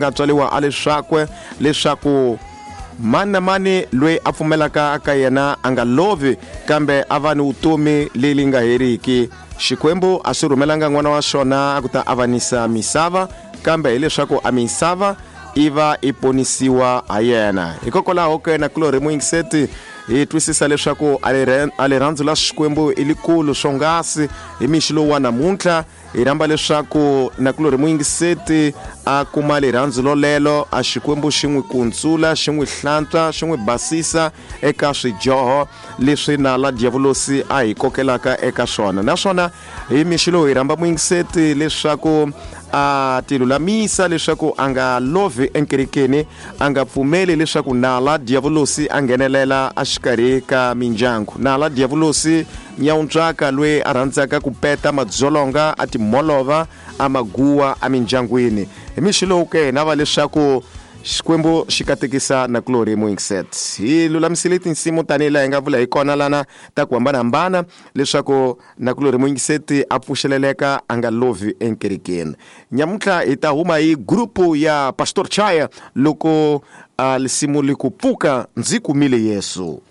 Nga tswariwa a leswakwe leswaku mani na mani loyi a pfumelaka ka yena a nga lovi kambe a va ni vutomi leli nga heriki. Xikwembu a swi rhumelanga n'wana wa xona a ku ta avanisa misava, kambe hileswaku a misava i va i ponisiwa ha yena. Hikokwalaho ke na kulorhi muyingiseti hi twisisa leswaku a rirhandzu la Xikwembu i likulu swonghasi. Hi mixi lowu wa namuntlha hi rhamba leswaku nakulorhi muyingiseti a kuma rirhandzu lolelo, a Xikwembu xi n'wi kuntsula, xi n'wi hlantswa, xi n'wi basisa eka swidyoho leswi nala diyavulosi a hi kokelaka eka swona. Naswona hi mixi lowu hi rhamba muyingiseti leswaku a tilulamisa leswaku a nga lovhi enkerekeni, a nga pfumeli leswaku nala diyavulosi a nghenelela exikarhi ka mindyangu. Nala diyavulosi nyawuntswaka loyi a rhandzaka ku peta madzolonga a timholova a maguwa emindyangwini. Hi mixi lowu ke hi nava leswaku Xikwembu xi katekisa nakulorhi muyingiset. Hi lulamisile tinsimu tanihi laha hi nga vula hi kona lana ta ku hambanahambana leswaku nakulorhi muyingiseti a pfuxeleleka a nga lovhi enkerekeni. Nyamuntlha hi ta huma hi grupu ya Pastor Chaya loko a lisimu li ku pfuka ndzi kumile Yesu.